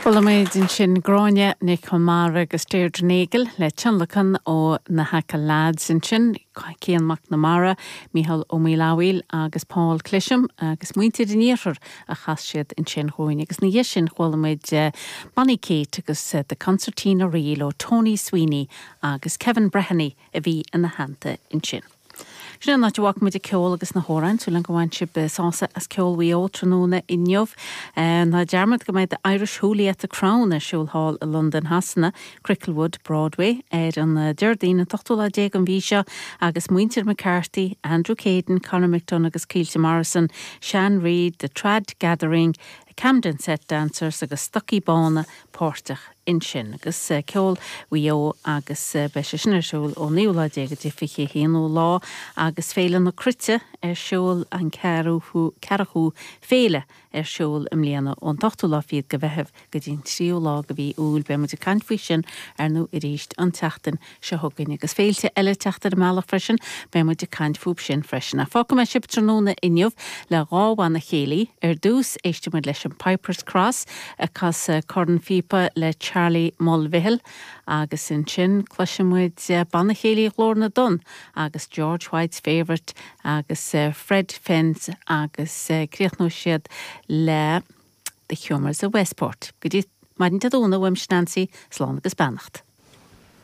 Chuala muid ansin Gráinne Nic Conmara agus Deirdre Nagle le tionlacan ó na hAchill Lads ansin, Cian Mac Namara, Mícheál Ó Maolfabhail agus Paul Clisham agus muintir an Iarthair a chas siad ansin dhúinn. Agus ina dhiaidh sin chuala muid Bonnie Kate agus The Concertina Reel ó Tony Sweeney agus Kevin Breheny a bhí ina theannta ansin. Sin é an áit a bhfágfaidh muid an ceol agus na hamhráin. Súil agam gur bhain sibh sásamh as ceol Mhaigh Eo tráthnóna inniu. Ná dearmad go mbeidh The Irish Hoolie at the Crown ar siúl thall i Londain Shasana, Cricklewood, Broadway, ar an Déardaoin an t-ochtú lá déag den mhí seo agus muintir McCarthy, Andrew Caden, Conor McDonagh agus Caoilte Morrison, Sean Reid, The Trad Gathering, Camden Set Dancers agus Stocaí Bána páirteach ansin. Agus ceol Mhaigh Eo agus beidh sé sin ar siúl ón naoú lá déag go dtí 21ú lá agus Féile na Cruite ar siúl an ceathrú féile ar siúl i mbliana ón t-ochtú lá fichead de Mheitheamh go dtí an tríú lá de mhí Iúil. Beidh muid ag caint faoi sin ar ndóigh arís an tseachtain seo chugainn agus féilte eile ag teacht ar an mbealach freisin, beidh muid ag caint fúb sin freisin. Ach fágfaidh mé sibh tráthnóna inniu le dhá bhanna céilí. Ar dtús, éistfidh muid leis an Piper's Cross ag casadh cornphíopa le Charlie Mulvihill agus ansin cloisfidh muid Banna Céilí Ghlór na dTonn agus George White's Favourite agus Fred Fenns agus críochnóidh siad le The Humours of Westport. Go dtí maidin Dé Domhnaigh, uaimse Nancy, slán agus beannacht.